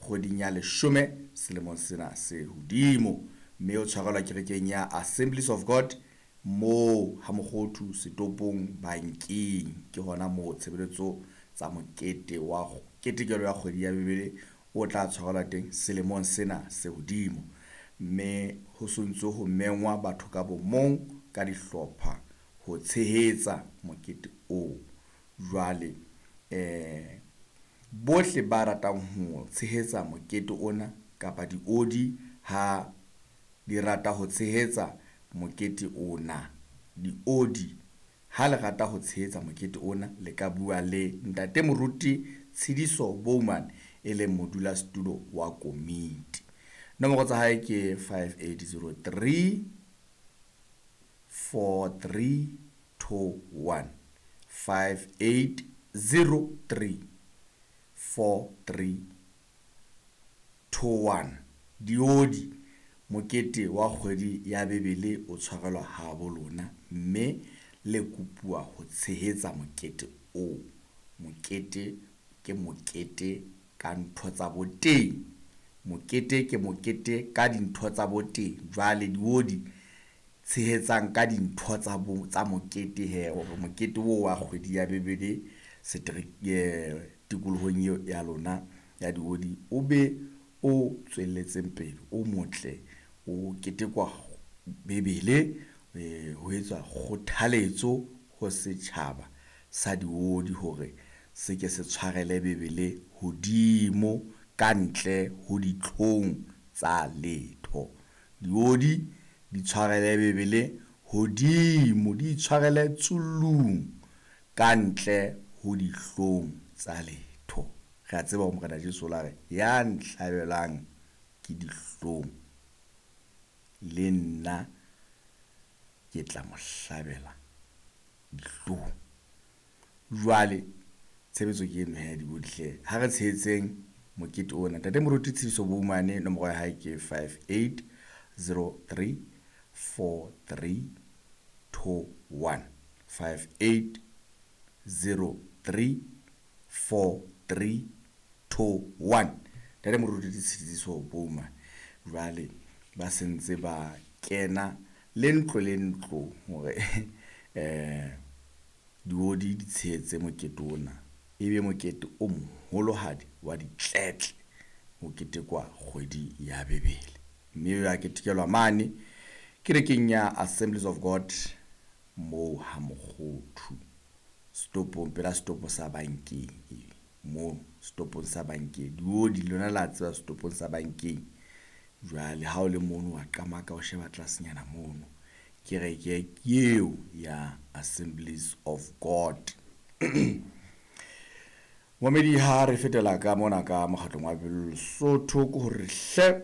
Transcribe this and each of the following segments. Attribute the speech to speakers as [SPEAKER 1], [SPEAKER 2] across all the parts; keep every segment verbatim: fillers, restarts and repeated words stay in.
[SPEAKER 1] kgweding ya leshome selemong sena se hodimo, mme o tshwarelwa kerekeng ya Assemblies of God moo ha Mokgothu setopong bankeng. Ke hona moo tshebeletso tsa mokete wa ketekelo ya kgwedi ya Bibele o tla tshwarelwa teng selemong sena se hodimo, mme ho sontso ho mengwa batho ka bomong ka dihlopha ho tshehetsa mokete oo. Jwale eh bohle ba ratang ho tshehetsa mokete ona kapa diodi ha di rata ho tshehetsa mokete ona, diodi ha le rata ho tshehetsa mokete ona le ka bua le ntate Moruti Tshidiso Bowman e leng modulasetulo wa komiti. Nomoro tsa hae ke five eight zero three four three two one, five eight zero three four three two one. Diodi mokete wa kgwedi ya Bibele o tshwarelwa ha bo lona, mme le kopuwa ho tshehetsa mokete oo. Mokete ke mokete ka ntho tsa boteng, mokete ke mokete ka dintho tsa boteng. Jwale diodi tshehetsang ka dintho tsa bo tsa mokete he, hore mokete oo wa kgwedi ya Bibele setereke tikolohong eo ya lona ya diodi o be o tswelletseng pele, o motle, o ketekwa Bibele, ho etswa kgothaletso ho setjhaba sa diodi hore se ke se tshwarele Bibele hodimo ka ntle ho ditlhong tsa letho. Diodi di tshwarele Bibele hodimo, di tshwarele tsullung ka ntle ho dihlong tsa letho. Re a tseba hore Morena Jesu o la re ya nhlabelang ke dihlong le nna ke tla mo hlabela dihlong. Jwale tshebetso ke eno he diodi, ha re tshehetseng mokete ona. Ntate Moruti Tshidiso Bowman, nomoro ya hae ke five eight zero three four three two one, five eight zero three four three two one. Ntate Moruti Tshidiso Bowman. Jwale ba sentse ba kena le ntlo le ntlo hore eh diodi di tshehetse mokete ona, ebe mokete o moholohadi wa ditletle ho ketekwa kgwedi ya Bibele, mme ya ketekelwa mane kerekeng ya Assemblies of God moo ha Mokgothu setopong, pela setopo sa bankeng, moo setopong sa bankeng. Diodi lona la tseba setopong sa bankeng. Jwale ha o le mono wa qamaka o sheba tlasenyana mono, kereke ke eo ya Assemblies of God. Momedi ha re fetela ka mona ka mokgatlong wa Lesotho ke hore hle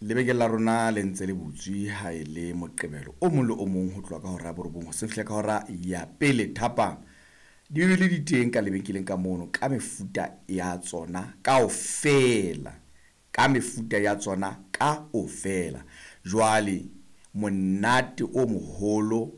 [SPEAKER 1] lebenkele la rona le ntse le butswe ha e le Moqebelo o mong le o mong ho tloha ka hora ya borobong hoseng fihla ka hora ya pele thapama. Dibibele di teng ka lebenkeleng ka mono ka mefuta ya tsona kaofela, ka mefuta ya tsona kaofela. Jwale monate o moholo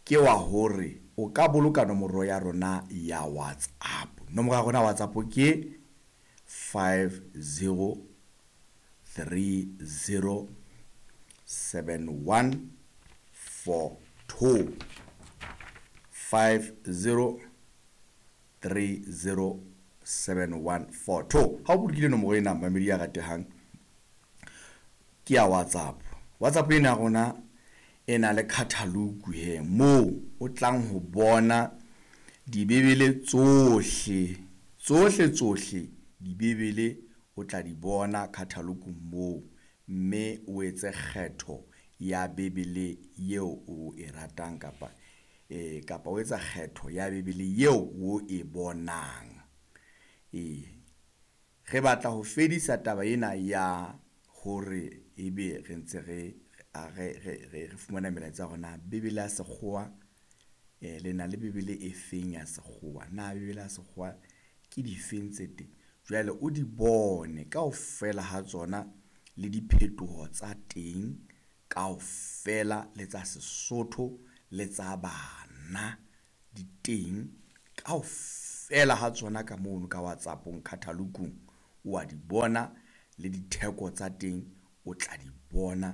[SPEAKER 1] ke wa hore o ka boloka nomoro ya rona ya WhatsApp. Nomoro ya rona ya WhatsApp ke five zero three zero seven one four two, five zero three zero seven one four two. Ha o bolokile nomoro ena mamedi ya ratehang ke ya WhatsApp. WhatsApp ena ya rona e na le catalogue he moo o tlang ho bona dibibele tsohle tsohle tsohle, dibibele o tla di bona catalogue moo, mme o etse kgetho ya Bibele eo o e ratang kapa eh kapa o etsa kgetho ya Bibele eo o e bonang. Eh re batla ho fedisa taba ena ya hore ebe re ntse re re re re fumana melaetsa ya rona Bibele ya sekgowa, eh le na le Bibele e feng ya sekgowa, na Bibele ya sekgowa ke difeng tse teng. Jwale o di bone kaofela ha tsona le diphetoho tsa teng kaofela, le tsa Sesotho le tsa bana di teng kaofela ha tsona ka mono ka WhatsApp-ong catalogue-ong o a di bona. Le ditheko tsa teng o tla di bona,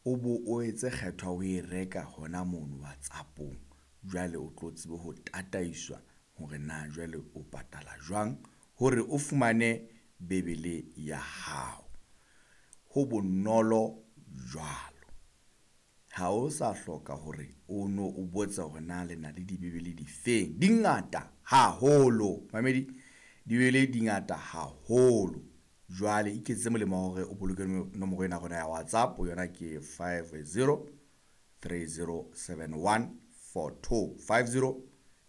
[SPEAKER 1] o bo o etse kgetho ya ho e reka hona mono WhatsApp-ong. Jwale o tlo tsebe ho tataiswa hore na jwale o patala jwang hore o fumane Bebele ya hao. Ho bonolo jwalo, ha o sa hloka hore o no o botse hore na le na le Dibebele di feng. Di ngata haholo mamedi, Dibebele di ngata haholo. Jwale iketsetse molemo wa hore o boloke nomoro ena ya rona ya WhatsApp, yona ke five zero three zero seven one four two, five zero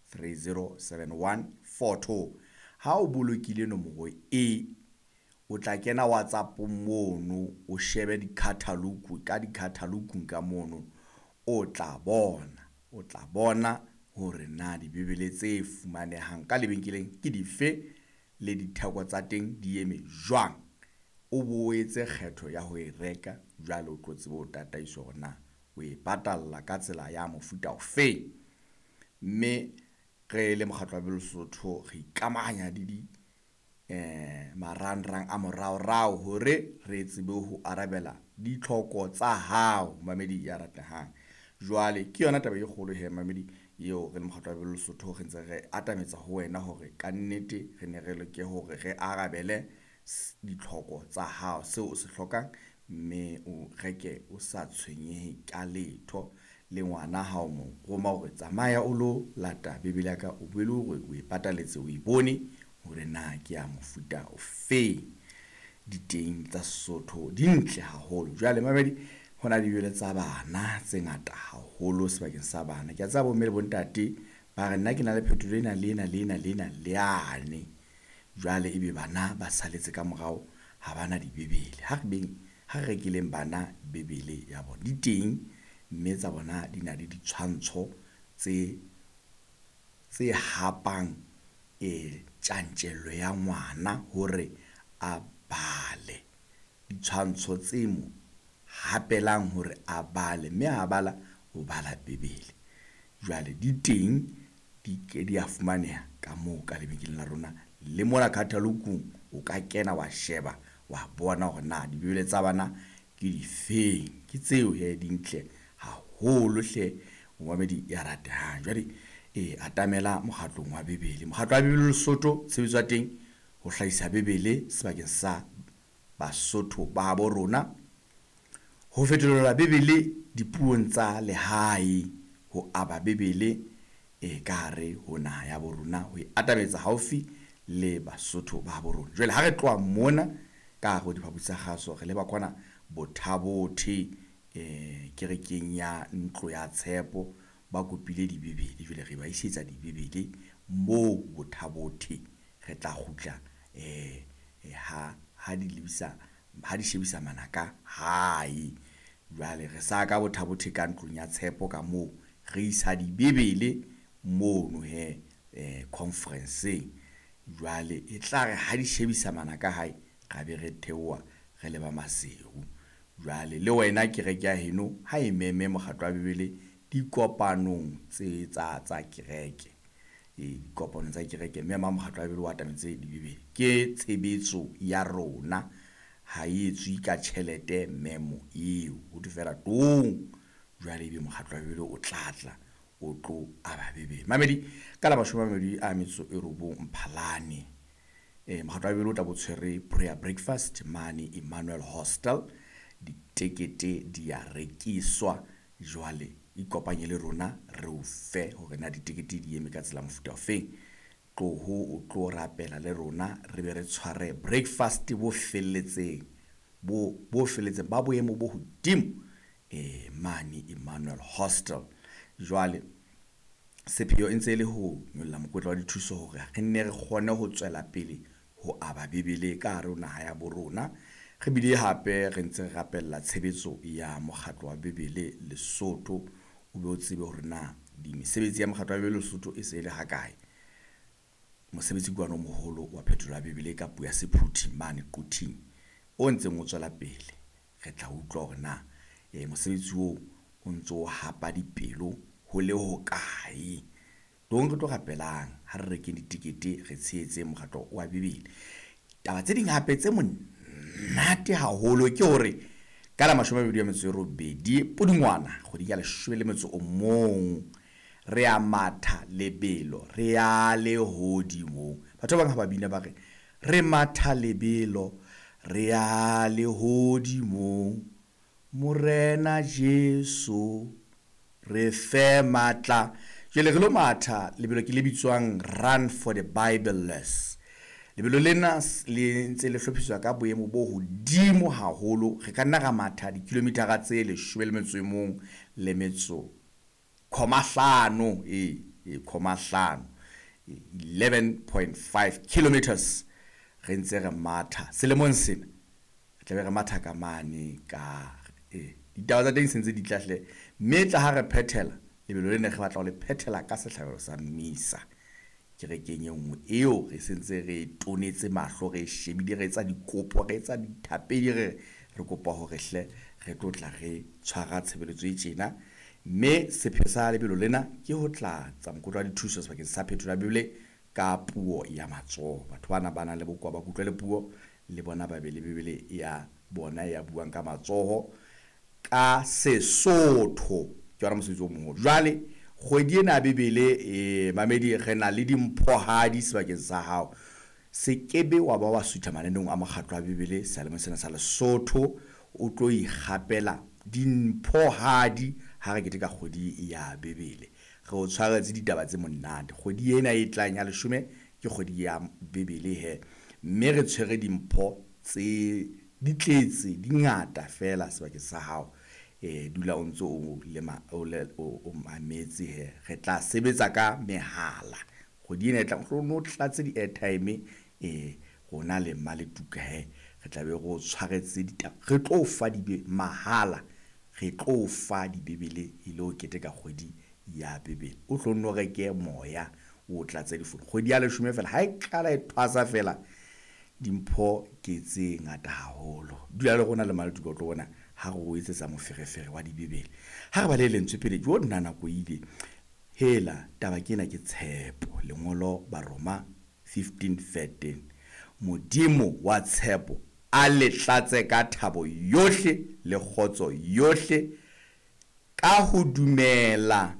[SPEAKER 1] three zero seven one four two. Ha o bolokile nomoro e, o tla kena WhatsApp mono, o shebe di-catalogue, ka di-catalogue ka mono o tla bona, o tla bona hore na Dibebele tse fumanehang ka lebenkeleng ke dife le ditheko tsa teng di eme jwang. O bo etse kgetho ya ho e reka, jwale o tlo tsebe ho tataiswa hore na o e patalla ka tsela ya mofuta ofe. Mme re le mokgatlo wa Bibele Lesotho re ikamahanya le di eh marangrang a moraorao hore re tsebe ho arabela ditlhoko tsa hao mamedi ya ratehang. Jwale ke yona taba e kgolo he mamedi eo re le mokgatlo wa Bibele Lesotho re ntse re atametsa ho wena hore kannete re ne re leke hore re arabele ditlhoko tsa hao, seo o se hlokang, mme o reke o sa tshwenyehe ka letho. Le ngwana ha o mo roma hore tsamaya o lo lata Bebele ya ka, o boele hore o e pataletse, o e bone hore na ke ya mofuta ofe. Diteng tsa Sesotho di ntle haholo. Jwale mamedi, ho na le Dibebele tsa bana tse ngata haholo sebakeng sa bana. Ke a tseba bomme le bontate ba re nna ke na le phetolo ena le ena le ena le ena le yane. Jwale ebe bana ba saletse ka morao, ha bana Dibebele. Ha re beng, ha re rekileng bana Bebele ya bona di teng, mme tsa bona di na le ditshwantsho tse, tse hapang e tjantjello ya ngwana hore a bale. Ditshwantsho tse mo hapelang hore a bale, mme ha bala o bala Bebele. Jwale di teng, di ke di a fumaneha ka moo ka lebenkeleng la rona. Le mona catalog-ong o ka kena wa sheba, wa bona hore na Dibebele tsa bana ke difeng. Ke tseo he di ntle haholo hle momamedi ya ratehang. Jwale e atamela mokgatlong wa Bebele. Mokgatlo wa Bebele Lesotho, tshebetso ya teng ho hlahisa Bebele sebakeng sa Basotho ba habo rona, ho fetolela Bebele dipuong tsa lehae, ho aba Bebele e ka hare ho naha ya bo rona, ho e atametsa haufi le Basotho ba habo rona. Jwale ha re tloha mona ka hare ho diphaposi tsa kgaso, re leba kwana Bothabothe eh kerekeng ya Ntlo ya Tshepo, ba kopile Dibebele. Jwale re ba isetsa Dibebele moo Bothabothe. Re tla kgutla eh ha ha di lebisa, ha di shebisa manaka hae. Jwale re sa ka Bothabothe ka ntlong ya Tshepo ka moo re isa Dibebele mono he eh conference-eng. Jwale e tla re ha di shebisa manaka hae, ra be re theoha re leba Maseru. Jwale le wena kereke ya heno ha e meme mokgatlo wa Bebele dikopanong tse tsa tsa kereke, e dikopanong tsa kereke, mme ma mokgatlo wa Bebele o atametse Dibebele. Ke tshebetso ya rona, ha e etswe ka tjhelete memo eo, ho thwe fela tong. Jwale ebe mokgatlo wa Bebele o tlatla o tlo aba Bebele. Mamedi, ka la mashome a mabedi a metso e robong Mphalane, eh mokgatlo wa Bebele o tla bo tshwere prayer breakfast mane Emmanuel Hostel. Ditekete di a rekiswa. Jwale ikopanye le rona re o fe hore na ditekete di eme ka tsela mofuta ofeng. Tloho o tlo rapela le rona, re be re tshware breakfast bo felletseng, bo, bo felletseng ba boemo bo hodimo eh mane Emmanuel Hostel. Jwale sepheo e ntse e le ho nyolla mokotla wa dithuso hore re nne re kgone ho tswela pele ho aba Bebele ka hare ho naha ya bo rona. Re bile hape re ntse re rapella tshebetso ya mokgatlo wa Bebele Lesotho. O be o tsebe hore na di mesebetsi ya mokgatlo wa Bebele Lesotho e se e le hakae. Mosebetsi ke ona o moholo wa phetolo ya Bebele ka puo ya Sephuthi mane Quthing o ntseng o tswela pele. Re tla utlwa hore na eh mosebetsi oo o ntso o hapa dipelo ho le hokae. Tong re tlo rapelang ha re rekeng ditekete, re tshehetse mokgatlo wa Bebele. Taba tse ding hape tse monate monate haholo ke hore ka la mashome a mabedi a metso e robedi Pudungwana kgweding ya leshome le metso o mong re a matha lebelo re ya lehodimong. Batho ba bang ha ba bina ba re re matha lebelo re ya lehodimong, Morena Jesu re fe matla. Jwale re lo matha lebelo ke le bitswang Run for the Bibleless. Lebelo lena le ntse le hlophiswa ka boemo bo hodimo haholo. Re ka nna ra matha dikilomitara tse leshome le metso e mong le metso comma hlano, e e comma hlano, eleven point five kilometers re ntse re matha selemong sena. Re tla be re matha ka mane ka e ditaba tsa teng se ntse di tla hle, mme tla ha re phethela lebelo lena re batla ho le phethela ka sehlabelo sa misa kerekeng e nngwe eo re sentse re tonetse mahlo, re shebile, re etsa dikopo, re etsa dithapedi, re re kopa hore hle re tlo tla re tshwara tshebeletso e tjena. Mme sepheo sa lebelo lena ke ho tla tsa mokotla wa dithuso sebakeng sa phetolo ya Bibele ka puo ya matsoho. Batho bana ba nang le bokowa ba kutlwe le puo le bona ba be le Bibele ya bona ya buang ka matsoho ka Sesotho. Ke yona mosebetsi o moholo. Jwale kgwedi ena ya Bibele e mamedi re na le dimphohadi sebakeng sa hao. Se kebe wa ba wa sutha mananeong a mokgatlo wa Bibele selemong sena sa Lesotho, o tlo ikgapela dimphohadi ha re keteka kgwedi ya Bibele. Re o tshwaretse ditaba tse monate. Kgwedi ena e tlang ya leshome ke kgwedi ya Bibele he, mme re tshwere dimpho tse di tletse di ngata fela sebakeng sa hao. E dula o ntso o le ma, o le, o, o mametse he. Re tla sebetsa ka mehala kgwedi ena e tlang, o no tlatse di-airtime e rona le Mmaletuka he. Re tla be re o tshwaretse ditaba, re tlo fa dibe mahala, re tlo fa dibebele e le ho keteka kgwedi ya Bibele. O tlo nno reke moya o tlatse difounu kgwedi ya leshome fela. Ha e qala e thwasa fela, dimpho ke tse ngata haholo. Dula le rona le Mmaletuka, o tlo bona ha re o etsetsa moferefere wa dibebele. Ha re bale lentswe pele jo nna nako ile hela taba ke ena ke tshepo. Lengolo Baroma fifteen thirteen, Modimo wa tshepo a le tlatse ka thabo yohle le kgotso yohle ka ho dumela.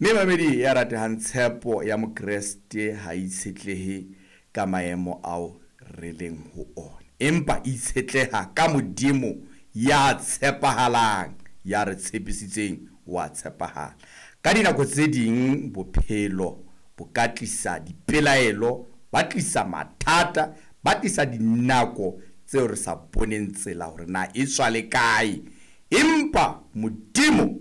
[SPEAKER 1] Mme mamedi ya ratehang, tshepo ya Mokreste ha itshetlehe ka maemo ao re leng ho ona, empa itshetleha ka Modimo ya tshepahalang, ya re tshepisitseng wa tshepahala. Ka dinako tse ding bophelo bo ka tlisa dipelaelo, ba tlisa mathata, ba tlisa dinako tseo re sa boneng tsela hore na e tswa le kae, empa Modimo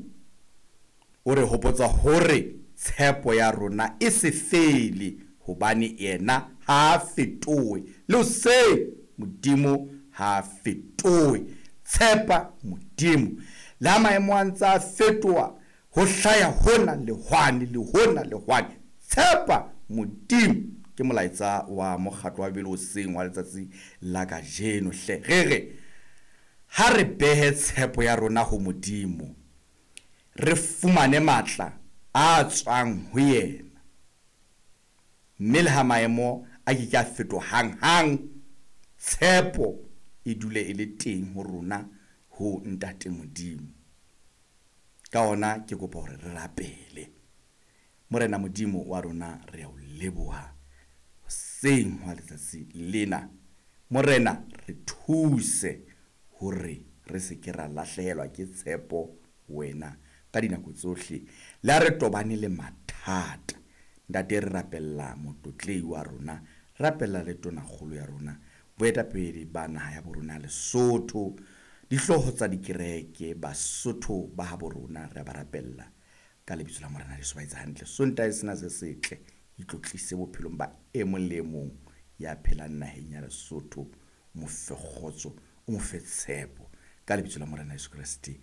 [SPEAKER 1] o re hopotsa hore tshepo ya rona e se fele, hobane yena ha a fetohe. Le hoseng Modimo ha a fetohe. Tshepa Modimo. Le ha maemo a ntse a fetoha, ho hlaya hona le hwane, le hona le hwane, tshepa Modimo. Ke molaetsa wa mokgatlo wa Bibele hoseng wa letsatsi la kajeno hle. Re re ha re behe tshepo ya rona ho Modimo, re fumane matla a tswang ho yena. Mme le ha maemo a ke ke a fetoha hang-hang, tshepo e dule e le teng ho rona ho Ntate Modimo. Ka hona ke kopa hore re rapele. Morena Modimo wa rona, re a o leboha hoseng hwa letsatsi lena. Morena, re thuse hore re se ke ra lahlehelwa ke tshepo wena ka dinako tsohle. Le ha re tobane le mathata, Ntate, re rapella motlotlei wa rona, rapella le tonakgolo ya rona, boetapele ba naha ya borona Lesotho, dihlooho tsa dikereke, Basotho ba habo rona, re ba rapella ka lebitso la Morena Jesu. Ba etsa hantle. Sontaha sena se setle, itlotlise bophelong ba e mong le e mong ya phelang naheng ya Lesotho. Mo fe kgotso, o mo fe tshepo ka lebitso la Morena Jesu Kreste.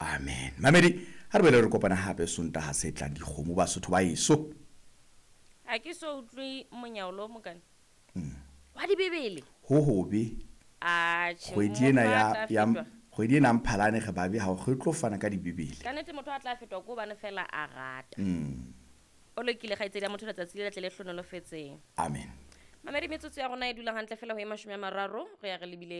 [SPEAKER 1] Amen. Mamedi, ha re boele re kopana hape Sontaha se tlang. Dikgomo Basotho ba eso.
[SPEAKER 2] Ha ke so utlwe monyaolo o mokana. Wa dibebele.
[SPEAKER 1] Ho hobe.
[SPEAKER 2] Atjhe,
[SPEAKER 1] Kgwedi ena
[SPEAKER 2] motho
[SPEAKER 1] ya,
[SPEAKER 2] a tla
[SPEAKER 1] ya
[SPEAKER 2] fetwa.
[SPEAKER 1] kgwedi ena Mphalane re babe ha re tlo fana ka dibebele.
[SPEAKER 2] Ka nnete motho a tla fetwa ke hobane fela a rata.
[SPEAKER 1] Mm.
[SPEAKER 2] O lokile kgaitsedi ya motho letsatsi le letle le hlonolofetseng.
[SPEAKER 1] Amen.
[SPEAKER 2] Mamedi, metsotso ya rona e dula hantle fela ho e mashome a mararo, re ya re lebile